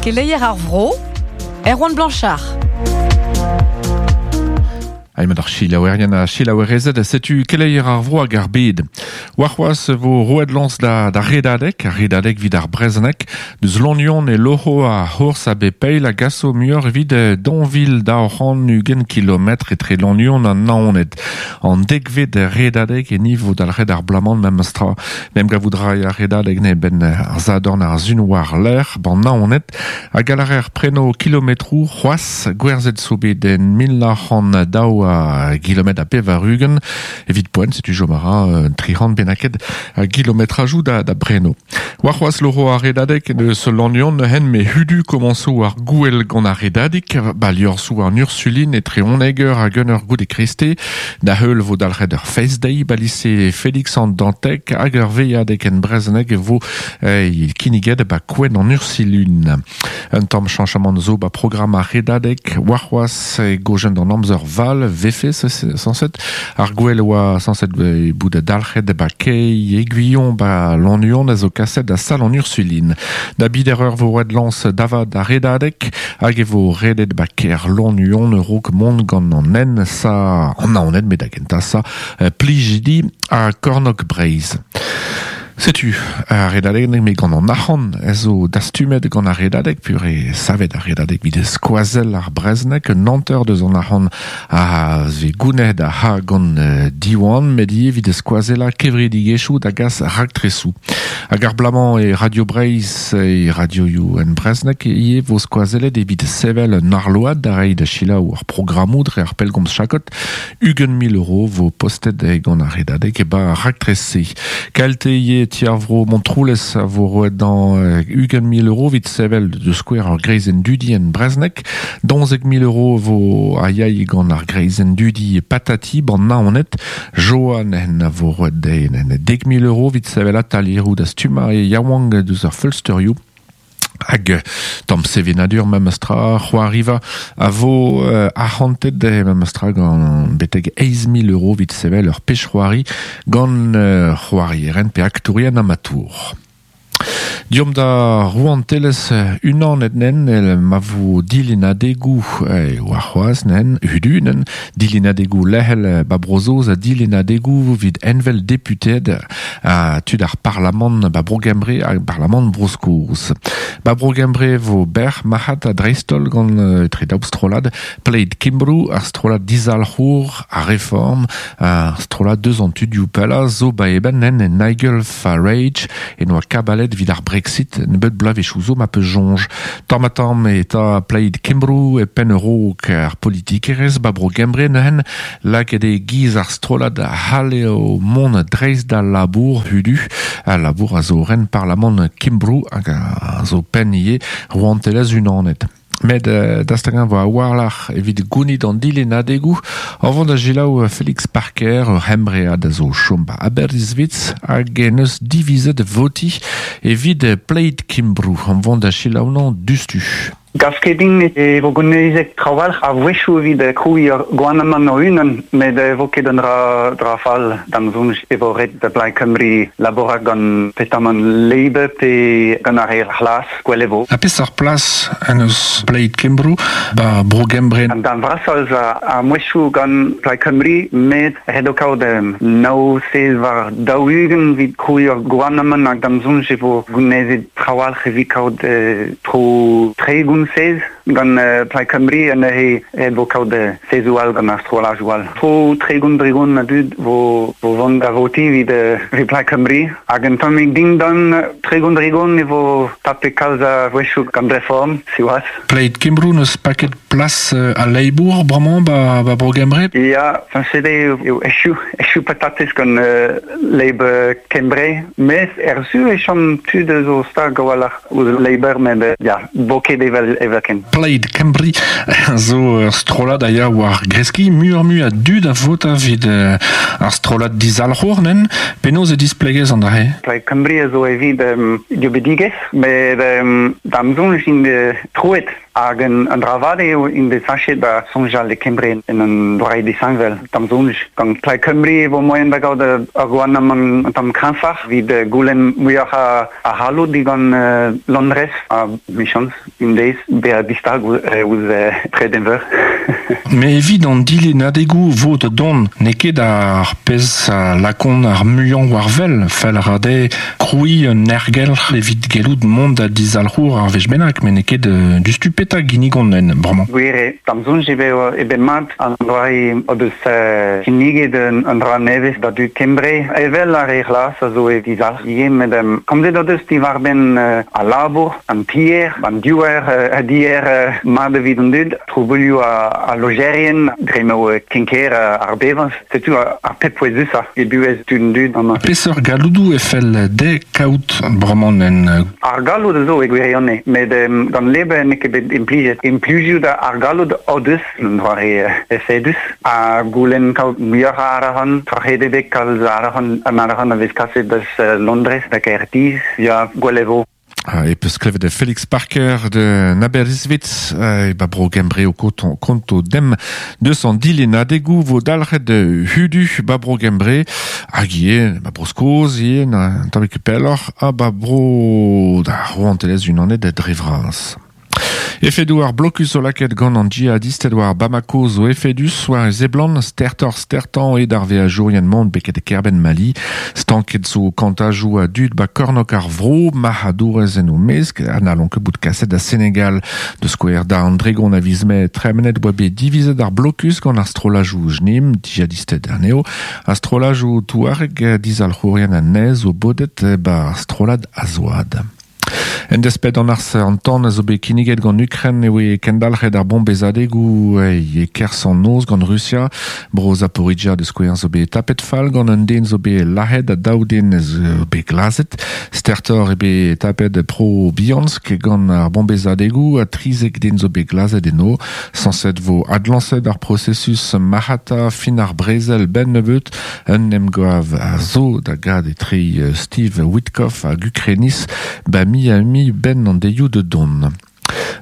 Keleier ar vro, Erwan Blanchard. Aimet ar chilaouerien ha chilaouerezed, setu keleier ar vro hag ar bed. Warc'hoazh vo roet lañs da, da redadeg, ar redadeg evit ar brezhoneg. Deus Lannion e loc'ho ar c'hours a bep eil a gaso muioc'h evit daou vil 220 kilometr etre Lannion ha Naoned. An dekvet redadeg e nivo dalc'het ar bloaz-mañ memes tra. N'em gavout ray ar redadeg ne benn ar zadorn ar sun war-lerc'h ban Naoned hag a lârer preno kilometroù c'hoazh gwerzhet zo bet en 1902 a gilometr ha 80 evit poent setu chom a ra un 300 bennaket a gilometrajoù da, da breno. Warc'hoazh loro ar redadeg eus Lannion hen me hudu komañso ar gouel gant ar redadig ba liorzhoù an Ursulin etre 11 eur hag 1 eur goude kreste da heul vo dalc'het ur fest deiz ba lise Félix an Dantec hag ur veilhadeg en brezhoneg e vo eh, kinniget ba kouent an Ursilun. Un tamm chañchamant zo ba programm ar redadeg warc'hoazh e gojen d'an amzer val vefe sañset ar gwel oa sañset bout dalc'het ba kei Aiguillon ba Lannuon a zo kaset da sal an Ursulin. Da bider eur vo roet lañs davad ar redadeg hag e vo redet ba kêr Lannuon raok mont gant an en sa an Naoned met da gentañ sa Plijidi ha Kornôg Breizh. Setu ar redadeg me gant an arc'hant a zo dastumet gant ar redadeg pur e savet ar redadeg evit skoazell ar brezhoneg un hanter deus an arc'hant a vez gounezet a ha gant Diwan met ivez evit skoazellañ kevredigezhioù da gas raktresoù. Hag ar bloaz-mañ e Radio Breizh e radioioù en brezhoneg ivez vo skoazellet evit sevel un arload da reiñ da selaou ar programmoù dre ar pellgomz chakod 20 000 euro vo postet gant ar redadeg e ba ar raktres-se. Kalte ivez ti ar vro Montroulez a vo roet dañ 20 000 euro evit sevel de skouer ur greizenn dudi en brezhoneg. 12 000 euro vo a yay gant ar greizenn dudi Patati ban Naoned. Joan en a vo roet dezhe en 10 000 euro evit sevel atalieroù da stummañ e yaouank deus ar feulsterioù. Hag tamm sevenadur memes tra c'hoariva a vo uh, arc'hantet memes tra gant betek 8 000 euro evit sevel ur pech c'hoari gant uh, c'hoarieren pe aktourien amatour. Diomp da rouantelezh unanet nen el ma vo dilennadegoù eh, warc'hoazh nen hudunen dilennadegoù lec'hel ba Bro-Saoz ha dilennadegoù evit envel deputeed ha tud ar parlamant ba Bro-Gembre hag parlamant Bro-Skos. Ba Bro-Gembre vo bec'h marc'had ha dreist-holl gant etre daou strollad Plaid Cymru ar strollad dizalc'hour ar Reform ar strollad deus an tudioù pellañ zo ba eben nen Nigel Farage e noa kabalet evit ar Brexit nebeut bloavezhioù zo ma peus soñj. Tamm ha tamm e ta Plaid Cymru e penn raok ar politikerezh ba Bro-Gembre neuzen lakaet eo giz ar strollad a c'hall eo mont dreist d'al labour hudu. Al labour a zo ren parlamant Cymru hag a zo penn ivez rouantelezh unanet. Met dastagañ vo a-walc'h evit gounit an dilennadegoù a vont da selaou Félix Parker, ur c'hembread a zo chom ba Aberystwyth hag en eus divizet votiñ evit Plaid Cymru. An vont da selaou nañ dustu. Gav ket din e vo gounezet trawalc'h a-wechoù evit krouiñ ur gouarnamant o-unan, met e vo ket un dra, dra fall d'am soñj e vo ret da Blaid Cymru labourat gant petamant Labour pe gant ar re c'hlas, gwell e vo. Ha peseurt plas en eus Plaid Cymru ba Bro-Gembre? An darn vrasañ eus ar mouezhioù gant Plaid Cymru, met ret eo kaout nav sez war 40 evit krouiñ ur gouarnamant hag d'am soñj e vo gounezet trawalc'h evit kaout tro 30 sez gant Plaid Cymru ha neuze e vo kaout sezoù all gant ar strollajoù all. Tro 30 dregont a dud vo, vo vont da votiñ evit, evit Plaid Cymru hag un tammig dindan 30 dregont e vo tapet kalz a wechoù gant Reform, siwazh. Plaid Cymru n'eus paket plas al Labour bremañ ba, ba Bro-Gembre? Ya, sañset eo echu, echu patatez gant Labour Kembre, mes er su e chom tud eus o stag a-walc'h ouzh Labour, met ya, vo ket evel evelkent. Plaid Cymru zo ur strollad a ya war greskiñ muioc'h-mui a dud a vota evit ar strollad dizalc'hour nen. Penaos e displegez an dra-se? Plaid Cymru a zo evit dieubidigezh, met da'm soñj int troet hag un dra vat eo int bet sachet da soñjal e Kembre en un doare disheñvel. Da'm soñj, gant Plaid Cymru e vo moaien da gaout ur gouarnamant un tamm kreñfoc'h evit goulenn muioc'h a c'halloud digant Londrez ha 'michañs un deiz bezañ distag ouzh Tredenveur. Met evit an dilennadegoù 'vo da dont, n'eo ket ar pezh a lakaont ar muiañ war wel. Fell a ra dezhe krouiñ un aergelc'h evit gellout mont da dizalc'hour ar wech bennak, met n'eo ket diouzhtu petra ginnigont en bremañ. Gwir eo, d'am soñj eo bet mat an doare o deus kinniget un dra nevez da dud Kembre, evel ar re c'hlas a zo e dizalc'h ivez, met komzet o deus diwar-benn al labour, an tier, an diouer a dier mat evit an dud, trubuilhoù al lojerien, dre m'eo ken-ker ar bevañs. Setu ar pep pouezusañ e buhez tud an dud amañ. Peseurt galloudoù e fell dezhe kaout bremañ en... Ar galloud a zo e gwirionez, met gant Labour n'eo ket bet implijet. Implijout ar galloud o deus un doare efedus ha goulenn kaout muioc'h a arc'hant, troc'het eo bet kalz arc'hant, an arc'hant a vez kaset deus Londrez da Gaerdydd, ya, gwell e vo. E peus klevet Felix Parker de Aberystwyth e ba bro Gembre o konto dem deus an dilennadegoù vo dalc'het hudu ba bro Gembre hag ivez ba bro Skos ivez un tammig pelloc'h ha ba bro da rouantelezh unanet dre vras. Efedoù ar blokus zo lakaet gant an djihadisted war Bamako zo efedus war e seblant stertoc'h stertañ eo d'ar veajourien mont beket e kêrbenn Mali. Stanket zo kantajoù a dud ba kornôg ar vro, marc'hadourez en o mesk ha n'hallont ket bout kaset da Senegal. Da skouer da an dregont a viz Mae tremenet oa bet divizet ar blokus gant ar strollajoù JNIM, djihadisted anezho, ha strollajoù touareg dizalc'hourien anezho zo bodet ba ar strollad Azwad. En desped d'an arz an tan a zo bet kinniget gant Ukren e oe kendalc'het ar bombezadegoù e-kerzh an noz gant Rusia. Bro Zaporizhia da skouer zo bet tapet fall gant un den zo bet lazhet ha daou den zo bet glazet. Stertoc'h eo bet tapet Pro Biansk gant ar bombezadegoù ha 13 den zo bet glazet eno. Sañset vo adlañset ar prosesus marc'hata fin ar brezel 'benn nebeut. Un emgav a zo da gad etre Steve Witkoff hag Ukreniz ba Miami 'benn an deioù da dont.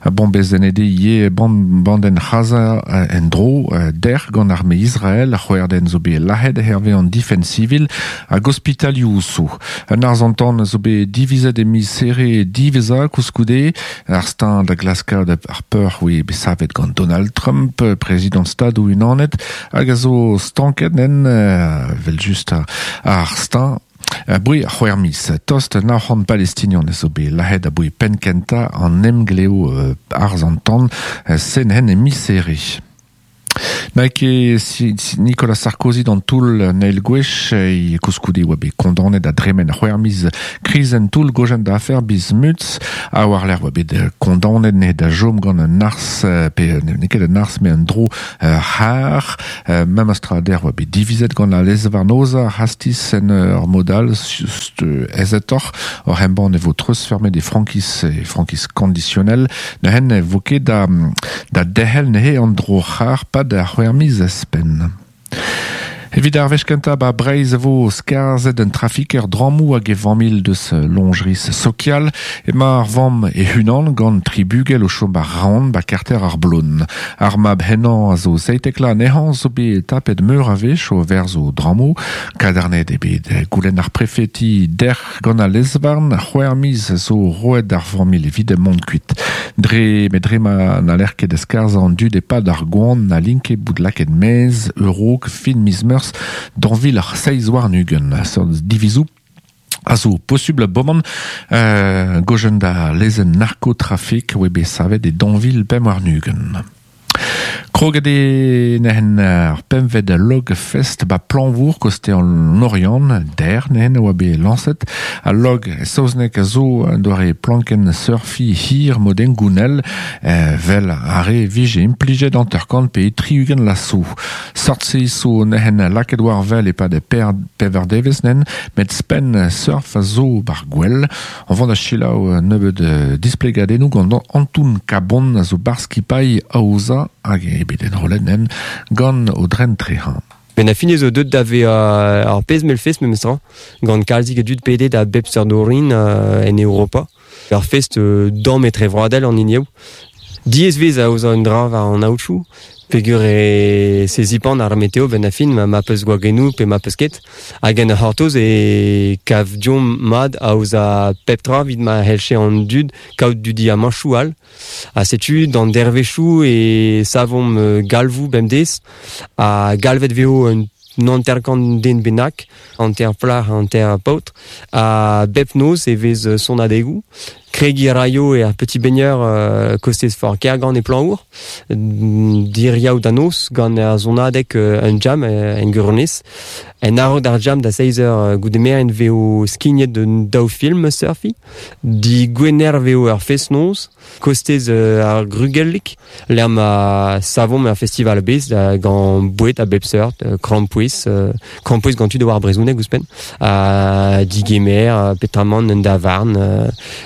Bombezennet eo ivez bandenn C'haza en-dro dec'h gant arme Israel. C'hwec'h den zo bet lazhet hervez an difenn sivil hag ospitalioù zo. Un arz-an-tan zo bet divizet e miz Here diwezhañ koulskoude. Ar steuñv da glaskaat ar peoc'h oe bet savet gant Donald Trump, prezidant Stadoù-Unanet, hag a zo stanket en, evel-just, ar steuñv aboe c'hwec'h miz. Tost 900 Palestinian a zo bet lazhet aboe penn-kentañ an emglev arz an tan sen-hen e miz Here. N'a ket Nicolas Sarkozy d'an toull an eil gwech, e koulskoude e oa bet kondaonet da dremen c'hwec'h miz kriz en toull gojenn da afer Bismuth, ha war-lerc'h oa bet kondaonet ne da chom gant un arz, pe n'eo ket un arz, met un dro c'har. Memes tra dec'h oa bet divizet gant al lez-varn aozañ ar c'hastiz en ur mod all aezetoc'h oc'h embann e vo treuzfeurmet e frankiz e frankiz kondisionel. Neuze ne vo ket da, da derc'hel neuze an dro-c'har pad ar c'hwec'h miz ouzhpenn. Evit ar wech kentañ 'ba Breizh e vo skarzhet un trafiker drammoù hag e familh deus loñjeris sokial. Emañ ar vamm e-unan gant tri bugel o chom 'ba Raon 'ba karter ar Blon. Ar mab henañ a zo 17 vloaz anezhañ zo bet tapet meur a wech o verzo drammoù. Kadarnaet eo bet goulenn ar prefeti dec'h gant al lez-varn. C'hwec'h miz zo roet d'ar familh evit mont kuit. Dre met dre ma n'haller ket skarzhañ an dud e-pad ar goan n'hallint ket bout lakaet maez a-raok fin miz Meurzh 2027. Seurt divizoù a zo posubl boman gojenn da lezenn narkotrafik oa bet savet e 2025. Kroget e nehen ar pemved log fest ba Planvour koste an Oriant, der nehen oa bet lañset. Al log saoznek a zo doare planken surfi hir moden gounel vel ar re vije implijet anterkant pe triugen lasso. Sort se zo nehen laket war vel e pad per pever devez nen, met spen surf a zo bar gwell. An vant a chilaou nebeud displegadennoù gant Antoun Kabon a zo bar skipailh aoza hag e bet enrollet nen gant o dren trehañ. Ben a fin zo deut da ve ar pezh mel fest memestra, gant kalzik a dud pedet a bep seurt orin en Europa. Ar fest damm etre vroadel an hini eo. Diaes vez aozañ un dra war an aotroù, peogwir e se zipan ar meteo benn ar fin ma peus gwagennoù pe ma peus ket. Hag en ur c'hortoz e kav deomp mat aozañ pep tra evit ma c'hellche an dud kaout dudiamanchoù all. Ha setu d'an dervezhioù e savomp galvoù bemdez ha galvet vezo un 50 den bennak, hanter plac'h, hanter paotr. Ha bep noz e vez sonadegoù. Kregiñ a raio er Petit Baigneur kostez for Kergant e Plañvour, diriaou da noz gant ar sonadeg un jam en Gurnez. En a-raok d'ar jam da seizh eur goude merenn vezo skignet un daou film surfiñ. Digwener vezo ur fest-noz kostez ar Grugellig lec'h ma savomp ur festival a-bezh gant boued a bep seurt, krampouezh, krampouezh gant tud a oar brezhoneg ouzhpenn, ha digemer, peotramant un davarn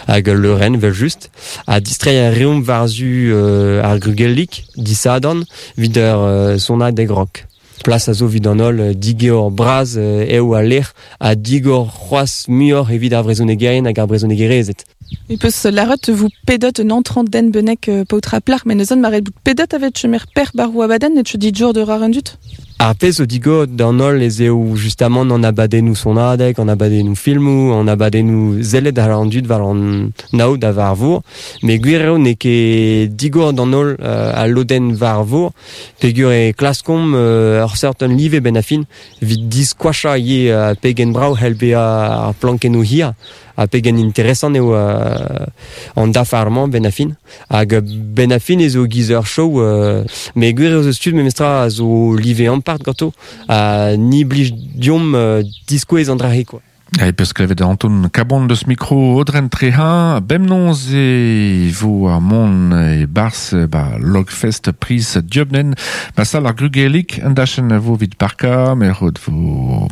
hag ul leurenn evel-just. Ha distreiñ a reomp war-zu ar Grugellig disadorn evit ur sonadeg rock. Plas a zo evit an holl, digor bras eo al lec'h ha digor c'hoazh muioc'h evit ar vrezhonegerien hag ar brezhonegerezed. E peus lâret vo pedet un entrant den bennak paotr ha plac'h, met neuze ma ret bout pedet avet chemer per barroù abadenn et dit jour de rar an dud? Ar pezh zo digor d'an holl ez eo justamant an abadennoù sonadeg, an abadennoù filmoù, an abadennoù sellet àr an dud war an aod ha war vor. Met gwir eo n'eo ket digor d'an holl al lodenn war vor peogwir e klaskomp ur seurt un live benn ar fin evit diskoachañ ivez pegen brav c'hell bezañ ar plankennoù hir ha pegen interesant eo an dafar-mañ benn ar fin. Hag benn ar fin ez eo giz ur show, met gwir eo eus tud memestra a zo live ampart ganto ha ni blij deomp diskouez an dra-se quoi. E peus klevet Anton Kabon deus mikro Audren Trehañ. Bemnoz e vo ar mont e-barzh ba Logfest Priz Dieubnen. Ba sal ar Grugelig, un dachenn a vo evit parkañ, met vo